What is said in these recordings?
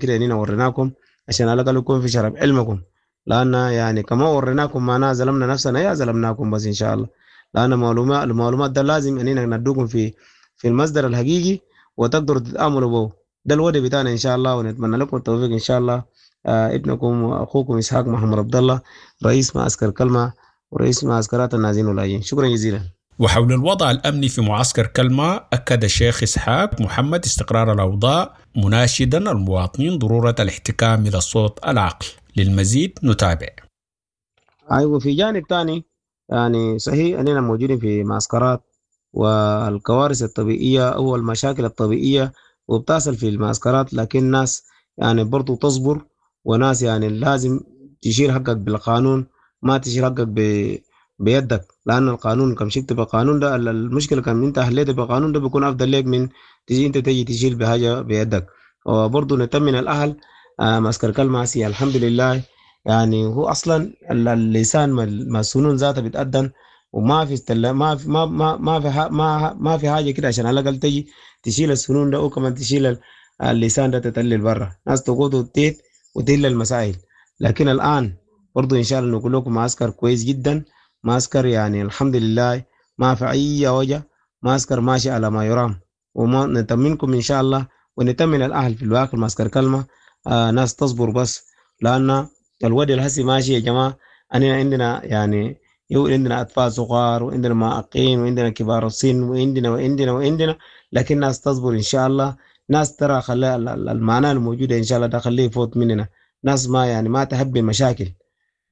كده اننا وريناكم عشان على الاقل يكون في شرف علمكم، لان يعني كما وريناكم معناها ظلمنا نفسنا يا ظلمناكم بس ان شاء الله، لان المعلومات ده لازم اننا ندوكم في المصدر الحقيقي وتقدروا تتاملوا به. ده الوضع بتاعنا ان شاء الله، ونتمنى لكم التوفيق ان شاء الله. ابنكم واخوكم اسحاق محمد عبد الله، رئيس معسكر كلمة ورئيس معسكرات النازين واللاجئين. شكرا جزيلا. وحول الوضع الأمني في معسكر كلمة، أكد الشيخ إسحاق محمد استقرار الأوضاع، مناشدا المواطنين ضرورة الاحتكام إلى الصوت العقل. للمزيد نتابع. أيوة، في جانب ثاني يعني صحيح أننا موجودين في معسكرات والكوارث الطبيعية أو المشاكل الطبيعية وبتصل في المعسكرات، لكن الناس يعني برضو تصبر، وناس يعني لازم تشيل حقك بالقانون، ما تشيل حقك بيدك، لأن القانون كم شفت بالقانون ده المشكلة كم أنت حليت بالقانون ده بيكون أفضل لك من تيجي أنت تيجي تشيل بحاجة بيدك. وبرضو نتمنى الأهل معسكر كلمة سي الحمد لله، يعني هو أصلا اللسان ما السنون ذاتها بتأذن، وما في ما في ما ما ما في ما ما في حاجة كده عشان على الأقل تجي تشيل السنون ده وكمان تشيل اللسان ده تتلل برا، ناس تقود وتيت وتهل المسائل. لكن الآن برضو إن شاء الله نقول لكم معسكر كويس جدا، معسكر يعني الحمد لله ما في أي وجه، معسكر ماشي على ما يرام، وما نطمنكم إن شاء الله ونطمن الأهل في الواقع. معسكر كلمة ناس تصبر بس، لأن الوضع الهسي ماشي يا جماعة. أنا عندنا يعني عندنا أطفال صغار وعندنا معاقين وعندنا كبار السن وعندنا وعندنا وعندنا، لكن ناس تصبر إن شاء الله. ناس ترى خلي المعنى الموجودة إن شاء الله ده خليه يفوت مننا. ناس ما يعني ما تحب المشاكل،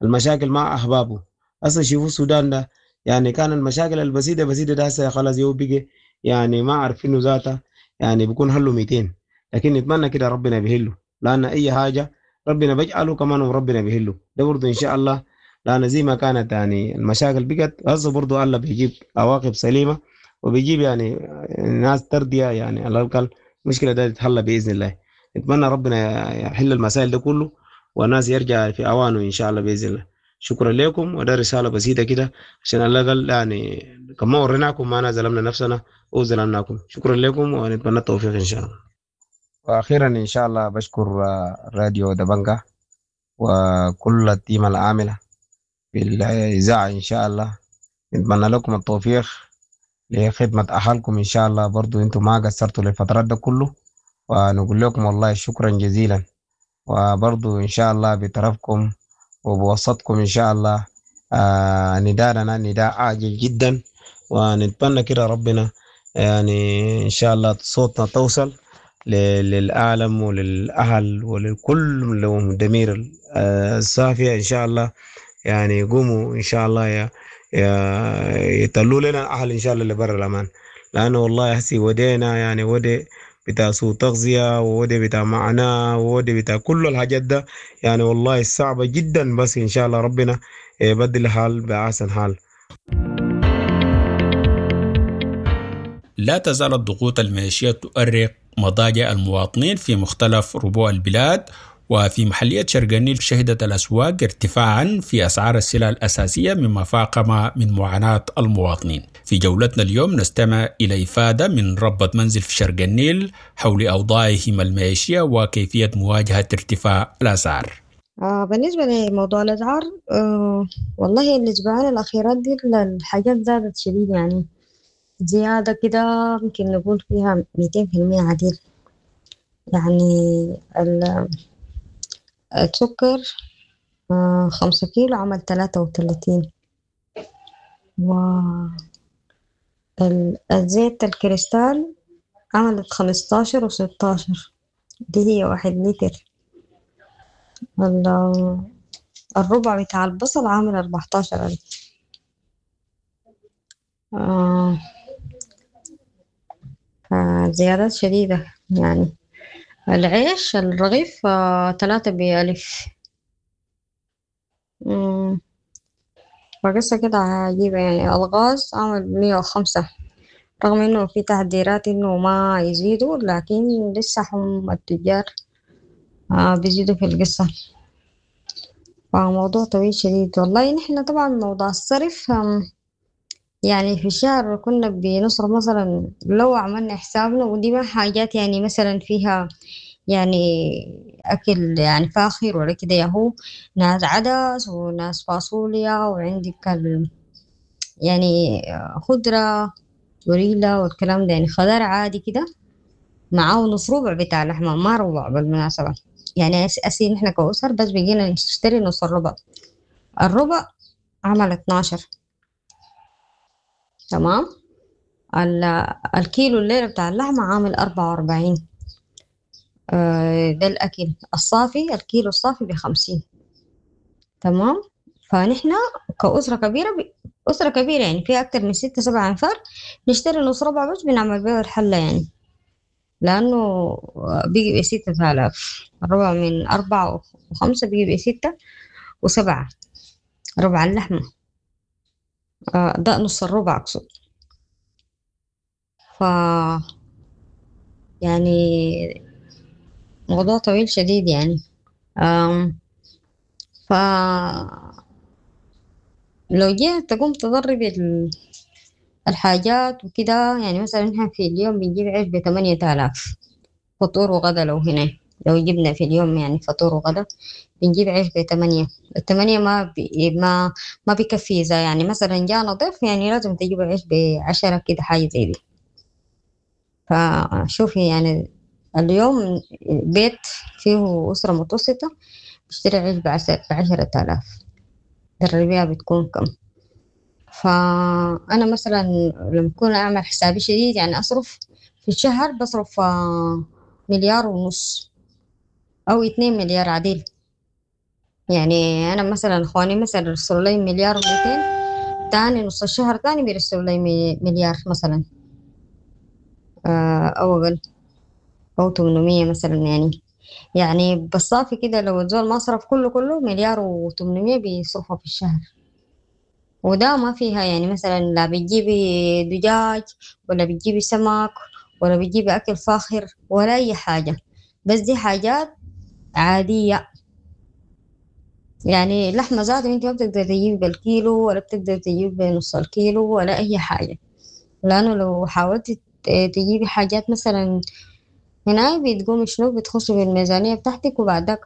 المشاكل مع أحبابه. أصلا شوفوا السودان ده يعني كان المشاكل البسيطة بسيطة ده هسه خلاص يو بقى يعني ما عارفينه ذاته، يعني بيكون هلو 200، لكن نتمنى كده ربنا بيهله، لأن أي حاجة ربنا بيجعله كمان وربنا بيهله ده برضه إن شاء الله. لأن زي ما كانت يعني المشاكل بقت هسه برضه الله بيجيب عواقب سليمة وبيجيب يعني ناس ترضية، يعني على الأقل المشكلة ده تتحل بإذن الله. نتمنى ربنا يحل المسائل ده كله والناس يرجع في أوانه إن شاء الله بإذن الله. شكرا لكم، وده رسالة بسيطة كده عشان على الأقل يعني كما وريناكم ما ظلمنا نفسنا وظلمناكم. شكرا لكم ونتمنى التوفيق إن شاء الله. وأخيرا إن شاء الله بشكر راديو دبنجا وكل التيم العاملة في الإذاعة إن شاء الله. نتمنى لكم التوفيق لخدمة أهلكم إن شاء الله. برضو أنتم ما قصرتوا للفترات ده كله، ونقول لكم والله شكرا جزيلا. وبرضو إن شاء الله بطرفكم وبوسطكم إن شاء الله نداءنا نداء عاجل جدا، ونتمنى كده ربنا يعني إن شاء الله صوتنا توصل للعالم وللأهل ولكل لهم ضمير الصافية إن شاء الله. يعني يقوموا إن شاء الله يطلوا لنا الأهل إن شاء الله اللي برا الأمان، لأنه والله هسي ودينا يعني ودي بتاع سوء تغذية وودي بتاع معاناة وودي بتاع كل الحاجات ده، يعني والله صعبة جدا، بس إن شاء الله ربنا يبدل الحال بأحسن حال. لا تزال الضغوط المعيشية تؤرق مضاجع المواطنين في مختلف ربوع البلاد، وفي محلية شرق النيل شهدت الأسواق ارتفاعا في أسعار السلع الأساسية مما فاقم من معاناة المواطنين. في جولتنا اليوم نستمع إلى إفادة من ربة منزل في شرق النيل حول أوضاعهم المعيشية وكيفية مواجهة ارتفاع الأسعار. بالنسبة لموضوع الأسعار، والله الأسبوعين الأخيرات دي الحاجات زادت شديد، يعني زيادة كده ممكن نقول فيها 200% عديل. يعني السكر 5 كيلو عمل 33، والزيت الكريستال عملت 15 و16، دي هي 1 لتر. الربع بتاع البصل عامل 14,000. زيادات شديدة. يعني العيش الرغيف 3 ب1000. فقصة كده عجيبة. يعني الغاز عمل 105، رغم إنه في تحذيرات إنه ما يزيدوا، لكن لسه هم التجار بيزيدوا في القصة. فموضوع طويل شديد والله. نحن طبعا موضوع الصرف، يعني في الشهر كنا بنصرف مثلا لو عملنا حسابنا، ودي ما حاجات يعني مثلا فيها يعني أكل يعني فاخر ولا كده، ياهو ناس عدس وناس فاصوليا وعندك يعني خضرة وريلة والكلام ده، يعني خضار عادي كده معاه نص ربع بتاع لحمة، ما ربع بالمناسبة. يعني أسي نحن كأسر بس بقينا نشتري نص الربع، الربع عمل 12. تمام. الكيلو الليلة بتاع اللحمة عامل 44. ده الأكل الصافي، الكيلو الصافي ب50. تمام. فنحن كأسرة كبيرة أسرة كبيرة يعني فيها أكتر من 6-7 أنفار، نشتري نص ربع بس بنعمل بيه الحلة يعني، لأنه بيجي ب6000 الربع من 4 و5 بيجي ب6 و7 ربع اللحمة. ده نص الربع أقصد. ف يعني موضوع طويل شديد يعني. ف لو جيت تقوم تضرب الحاجات وكده، يعني مثلا نحن في اليوم بنجيب عيش ب8000 فطور وغدا، لو هنا لو جبنا في اليوم يعني فطور وغدا بنجيب عيش ب8، الثمانية ما بيكفي. إذا يعني مثلا جانا ضيف يعني لازم تجيب عيش ب10 كده، حاجة زي دي. فشوفي يعني اليوم بيت فيه أسرة متوسطة بيشتري عيش ب10,000، الربيع بتكون كم؟ فأنا مثلا لما أكون أعمل حسابي شديد يعني أصرف في الشهر بصرف 1.5 مليار أو 2 مليار عديل. يعني أنا مثلا إخواني مثلا يرسلوا لي 1.2 مليار، تاني نص الشهر تاني بيرسلوا لي مليار مثلا، أو أقل، أو 800 مثلا. يعني بالصافي كده لو الزول ما صرف كله 1.8 مليار بيصرفه في الشهر. وده ما فيها يعني مثلا لا بتجيبي دجاج ولا بتجيبي سمك ولا بتجيبي أكل فاخر ولا أي حاجة، بس دي حاجات عادية. يعني لحمة ذاته انت ما بتقدر تجيب بالكيلو ولا بتقدر تجيب بنص الكيلو ولا أي حاجة، لأنه لو حاولت تجيبي حاجات مثلا هنا بتقومي شنو بتخشي بالميزانية بتاعتك وبعدك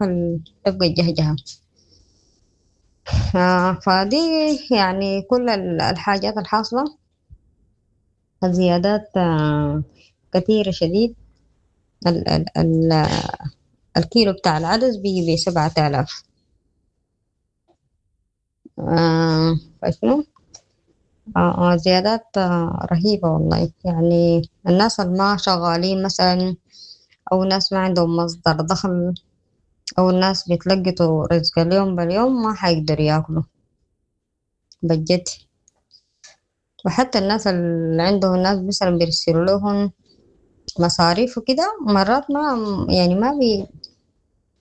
تبقى الجهجهة. فدي يعني كل الحاجات الحاصلة، الزيادات كثيرة شديد. ال ال ال الكيلو بتاع العدس بيجي ب7000. فشنو؟ زيادات رهيبة والله. يعني الناس اللي ما شغالين مثلا، أو ناس ما عندهم مصدر دخل، أو الناس بيتلقطوا رزق اليوم باليوم، ما حيقدروا ياكلوا بجد. وحتى الناس اللي عندهم ناس مثلا بيرسلوا لهم مصاريف وكده، مرات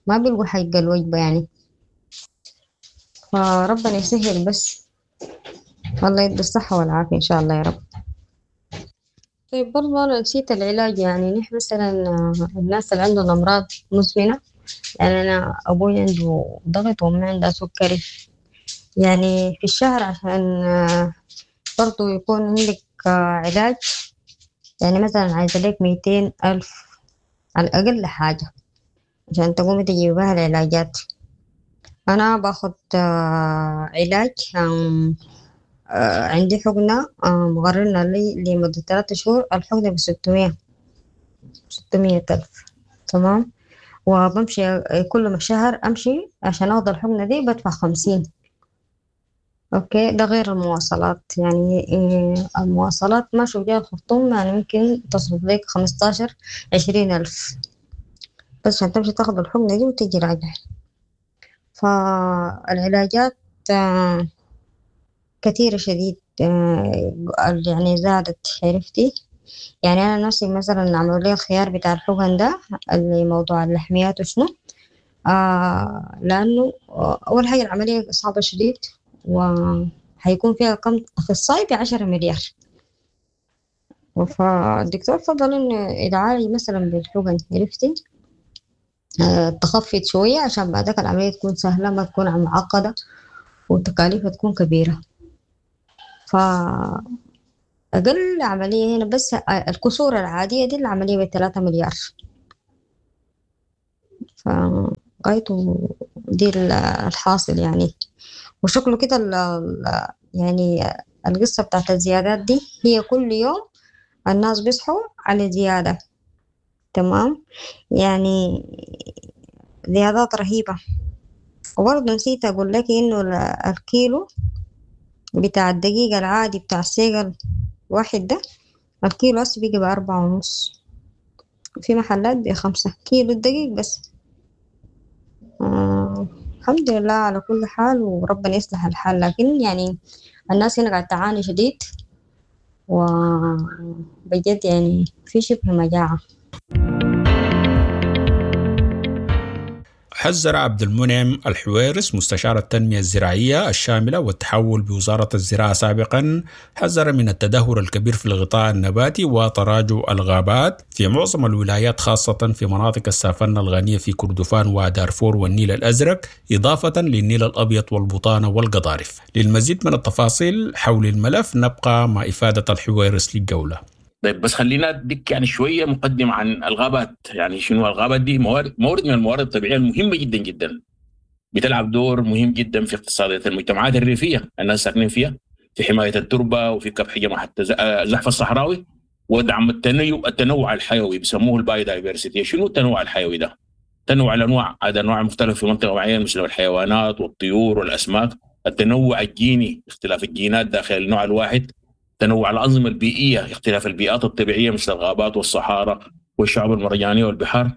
ما بيلقوا حق الوجبة يعني. فربنا يسهل بس، الله يدي الصحة والعافية إن شاء الله يا رب. طيب برضه أنا نسيت العلاج. يعني نحن مثلا الناس اللي عندهم أمراض مزمنة، يعني أنا أبوي عنده ضغط وأمي عندها سكري، يعني في الشهر عشان برضه يكون عندك علاج، يعني مثلا عايزة لك 200,000 على الأقل حاجة عشان تقومي تجيبي بها العلاجات. أنا باخد علاج، عندي حقنة، مغررنا لي لمدة 3 شهور، الحقنة 600,000. تمام. وبمشي كل ما شهر أمشي عشان أخذ الحقنة دي بدفع 50. أوكي، ده غير المواصلات. يعني المواصلات ما شو جاي الخرطوم، يعني ممكن تصرف لك 15-20 ألف بس عشان تمشي تاخذ الحقنة دي وتجي راجع. فالعلاجات كثيرة شديد، يعني زادت، عرفتي؟ يعني أنا نفسي مثلا عملوا لي الخيار بتاع الحقن ده اللي موضوع اللحميات وشنو، لأنه أول حاجة العملية صعبة شديد، وحيكون فيها كم أخصائي ب10 مليار. فالدكتور فضل إنه يتعالج مثلا بالحقن، عرفتي؟ تخفض شوية عشان بعدك العملية تكون سهلة، ما تكون معقدة وتكاليفها تكون كبيرة. فأقل عملية هنا بس الكسور العادية دي العملية ب3 مليار. فغايته دي الحاصل يعني. وشكله كده يعني القصة بتاعت الزيادات دي هي كل يوم الناس بيصحوا على زيادة، تمام، يعني زيادات رهيبة. وبرضه نسيت أقول لك إنه الكيلو بتاع الدقيق العادي بتاع السيقل واحد ده الكيلو هسه بيجي ب4.5، في محلات ب5 كيلو الدقيق بس. الحمد لله على كل حال، وربنا يصلح الحال. لكن يعني الناس هنا قاعدة تعاني شديد، وبجد يعني في شبه مجاعة. حذر عبد المنعم الحويرس مستشار التنمية الزراعية الشاملة والتحول بوزارة الزراعة سابقا، حذر من التدهور الكبير في الغطاء النباتي وتراجع الغابات في معظم الولايات، خاصة في مناطق السافنة الغنية في كردفان ودارفور والنيل الأزرق، إضافة للنيل الأبيض والبطانة والقضارف. للمزيد من التفاصيل حول الملف نبقى مع إفادة الحويرس للجولة. طيب بس خلينا اديك يعني شوية مقدمه عن الغابات. يعني شنو الغابات دي؟ مورد من الموارد الطبيعية المهمة جدا جدا، بتلعب دور مهم جدا في اقتصادية المجتمعات الريفية الناس ساكنين فيها، في حماية التربة وفي كبح جماعة الزحف الصحراوي ودعم التنوع الحيوي، بيسموه ال biodiversity. شنو التنوع الحيوي ده؟ تنوع الانواع، هذا انواع مختلفة في منطقة معينة مثل الحيوانات والطيور والاسماك. التنوع الجيني، اختلاف الجينات داخل النوع الواحد. تنوع الأنظمة البيئية، اختلاف البيئات الطبيعية مثل الغابات والصحارى والشعاب المرجانية والبحار.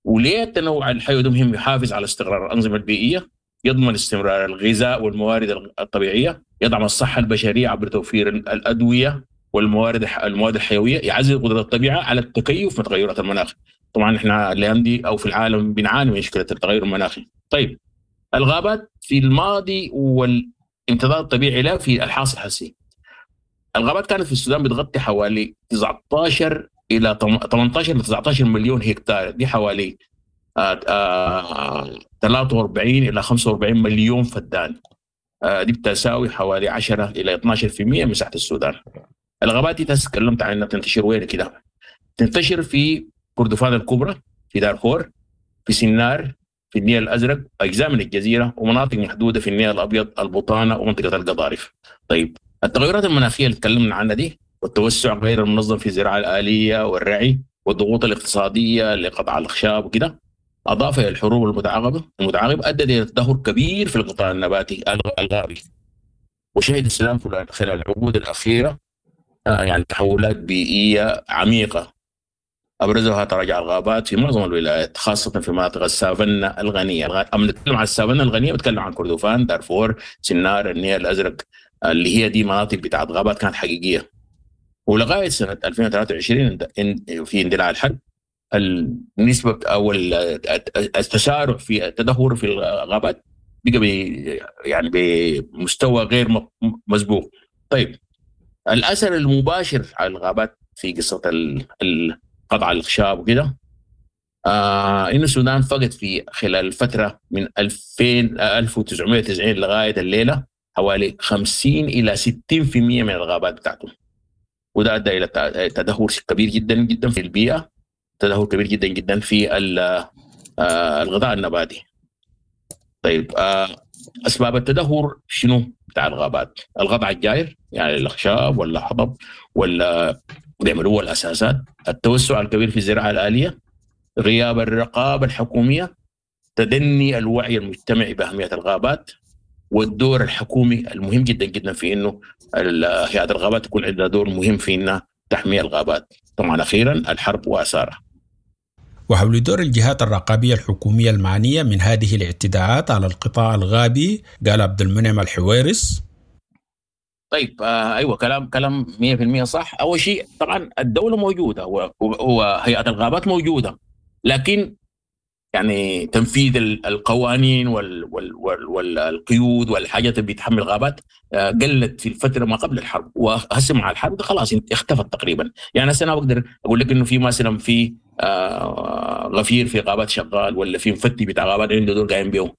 وليه التنوع الحيوي ده مهم؟ يحافظ على استقرار الأنظمة البيئية، يضمن استمرار الغذاء والموارد الطبيعية، يدعم الصحة البشرية عبر توفير الأدوية والموارد المواد الحيوية، يعزز قدرة الطبيعة على التكيف مع تغيرات المناخ. طبعا احنا الأيام دي أو في العالم بنعاني من مشكلة التغير المناخي. طيب الغابات في الماضي والامتداد الطبيعي لها في الحاصل الحسي. الغابات كانت في السودان بتغطي حوالي 19 الى 18 ل 19 مليون هكتار، دي حوالي 43 الى 45 مليون فدان، دي بتساوي حوالي 10 الى 12% من مساحة السودان. الغابات دي تكلمت عنها بتنتشر وين كده؟ تنتشر في كردفان الكبرى، في دارفور، في سنار، في النيل الازرق، اجزاء من الجزيرة، ومناطق محدودة في النيل الابيض، البطانة، ومنطقة القضارف. طيب التغيرات المناخية اللي تكلمنا عنها دي، والتوسع غير المنظم في الزراعة الآلية والرعي، والضغوط الاقتصادية لقطع الأخشاب وكده، أضافة إلى الحروب المتعاقبة أدت إلى تدهور كبير في القطاع النباتي الغابي. وشهد السودان خلال العقود الأخيرة يعني تحولات بيئية عميقة، أبرزها تراجع الغابات في معظم الولايات، خاصة في مناطق السافنة الغنية. أما نتكلم عن السافنة الغنية بتكلم عن كردفان، دارفور، سنار، النيل الأزرق، اللي هي دي مناطق بتاعت غابات كانت حقيقية. ولغاية سنة 2023 في اندلاع الحرب، النسبة أو التسارع في التدهور في الغابات بقى يعني بمستوى غير مسبوق. طيب الأثر المباشر على الغابات في قصة قطع الأخشاب وكده، إن السودان فقد في خلال الفترة من 1990 لغاية الليلة حوالي 50 إلى 60% من الغابات بتاعته، وده أدى إلى تدهور كبير جدا جدا في البيئة، تدهور كبير جدا جدا في الغطاء النباتي. طيب أسباب التدهور شنو بتاع الغابات؟ القطع الجائر، يعني الأخشاب ولا حطب ولا بيعملوه الأساسات، التوسع الكبير في الزراعة الآلية، غياب الرقابة الحكومية، تدني الوعي المجتمعي بأهمية الغابات، والدور الحكومي المهم جدا جدا في انه هيئة الغابات تكون عندها دور مهم في انها تحمي الغابات. طبعا اخيرا الحرب واثارها. وحول دور الجهات الرقابية الحكومية المعنية من هذه الاعتداءات على القطاع الغابي، قال عبد المنعم الحويرس. طيب ايوه كلام 100% صح. اول شيء طبعا الدولة موجودة وهيئة الغابات موجودة، لكن يعني تنفيذ القوانين والقيود والحاجات اللي بتحمل الغابات قلت في الفترة ما قبل الحرب، وهسه مع الحرب خلاص اختفت تقريبا. يعني هسه انا بقدر اقول لك انه في مثلا في غفير في غابات شغال، ولا في مفتي بتاع غابات عنده دور قايم بيه.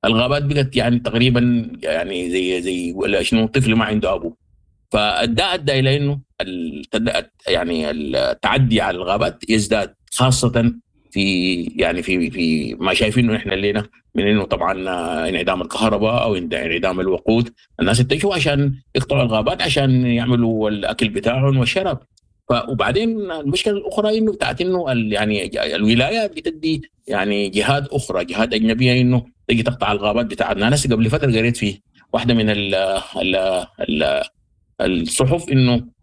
الغابات بقت يعني تقريبا يعني زي ولا شنو، طفل ما عنده ابو. فده ادى الى انه يعني التعدي على الغابات يزداد، خاصة في يعني في في ما شايفينه احنا الليلة من انه طبعا انعدام الكهرباء او انعدام الوقود، الناس اتجهوا عشان يقطعوا الغابات عشان يعملوا الاكل بتاعهم والشراب. وبعدين المشكلة الاخرى انه بتاعت انه يعني الولاية بتدي يعني جهات اخرى، جهات اجنبية، انه تجي تقطع الغابات بتاعتنا. انا قبل فترة قريت في واحدة من ال ال ال الصحف انه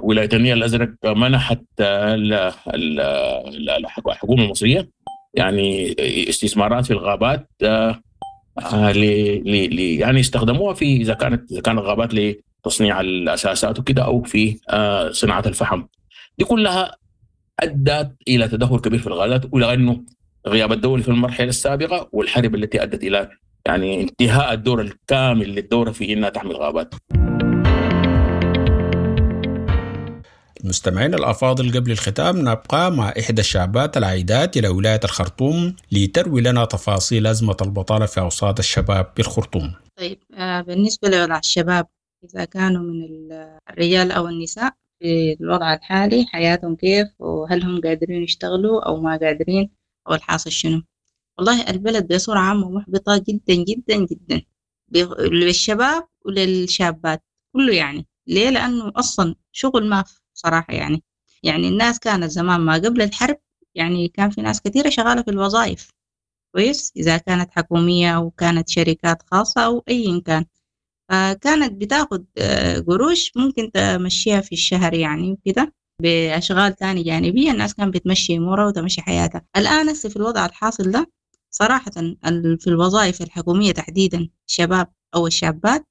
ولاية النيل الازرق منحت الحكومة المصرية يعني استثمارات في الغابات يعني استخدموها في اذا كانت الغابات لتصنيع الاساسات وكده او في صناعة الفحم. دي كلها ادت الى تدهور كبير في الغابات، والى انه غياب الدولة في المرحلة السابقة والحرب التي ادت الى يعني انتهاء الدور الكامل للدورة في انها تحمي الغابات. المستمعين الأفاضل، قبل الختام نبقى مع إحدى الشابات العائدات إلى ولاية الخرطوم لتروي لنا تفاصيل أزمة البطالة في أوساط الشباب بالخرطوم. طيب، بالنسبة لوضع الشباب إذا كانوا من الرجال أو النساء في الوضع الحالي، حياتهم كيف، وهل هم قادرين يشتغلوا أو ما قادرين، أو الحاصل شنو؟ والله البلد بصورة عامة محبطة جدا جدا جدا للشباب وللشابات كله. يعني ليه؟ لأنه أصلا شغل ما في صراحة. يعني الناس كانت زمان ما قبل الحرب يعني كان في ناس كثيرة شغالة في الوظائف كويس، إذا كانت حكومية أو كانت شركات خاصة أو أي كان، فكانت بتاخد قروش ممكن تمشيها في الشهر يعني وكده، بأشغال تاني جانبية الناس كانت بتمشي أمورها وتمشي حياتها. الآن هسه في الوضع الحاصل ده صراحة في الوظائف الحكومية تحديدا الشباب أو الشابات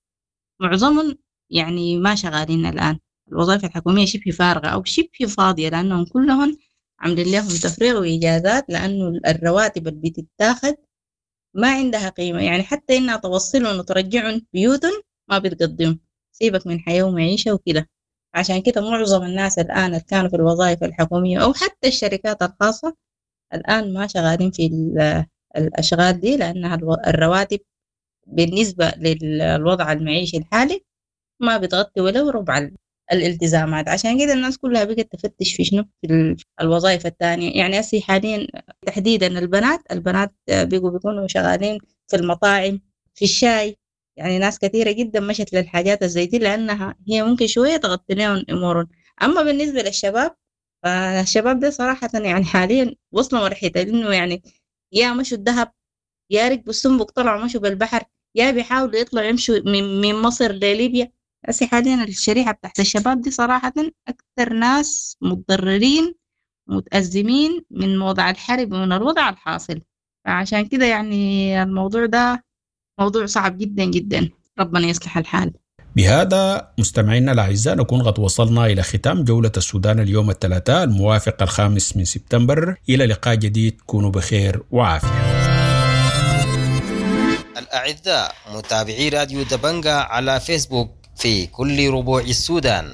معظمهم يعني ما شغالين الآن. الوظائف الحكومية شبه فارغة أو شبه فاضية، لأنهم كلهم عاملين لهم تفريغ وإجازات، لأنه الرواتب اللي بتتاخد ما عندها قيمة، يعني حتى إنها توصلهم وترجعهم بيوتهم ما بتقدم، سيبك من حياة ومعيشة وكده. عشان كده معظم الناس الآن اللي كانوا في الوظائف الحكومية أو حتى الشركات الخاصة الآن ما شغالين في الأشغال دي، لأنها الرواتب بالنسبة للوضع المعيشي الحالي ما بتغطي ولو ربع الالتزامات. عشان كده الناس كلها بقت تفتش في شنو، في الوظائف الثانية. يعني هسي حاليا تحديدا البنات بيقوا بيكونوا شغالين في المطاعم، في الشاي، يعني ناس كثيرة جدا مشت للحاجات الزي دي لأنها هي ممكن شوية تغطي لهم أمورهم. أما بالنسبة للشباب، فالشباب ده صراحة يعني حاليا وصلوا مرحلة إنه يعني يا مشوا الذهب، يا ركبوا السنبك طلعوا مشوا بالبحر، يا بيحاولوا يطلعوا يمشوا من مصر لليبيا. هسي حاليا الشريحة بتاعت الشباب دي صراحة أكثر ناس متضررين متأزمين من وضع الحرب ومن الوضع الحاصل. فعشان كده يعني الموضوع ده موضوع صعب جدا جدا، ربنا يصلح الحال. بهذا مستمعينا الأعزاء نكون قد وصلنا إلى ختام جولة السودان اليوم الثلاثاء الموافق 5 سبتمبر. إلى لقاء جديد، كونوا بخير وعافية. الأعزاء متابعي راديو دبنجا على فيسبوك في كل ربوع السودان،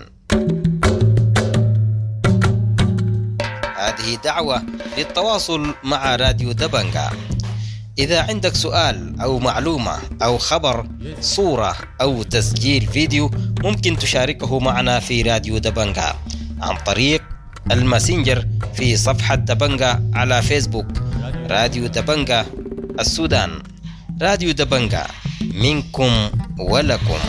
هذه دعوة للتواصل مع راديو دبنجا. إذا عندك سؤال أو معلومة أو خبر، صورة أو تسجيل فيديو، ممكن تشاركه معنا في راديو دبنجا عن طريق الماسنجر في صفحة دبنجا على فيسبوك. راديو دبنجا السودان، راديو دبنجا منكم ولكم.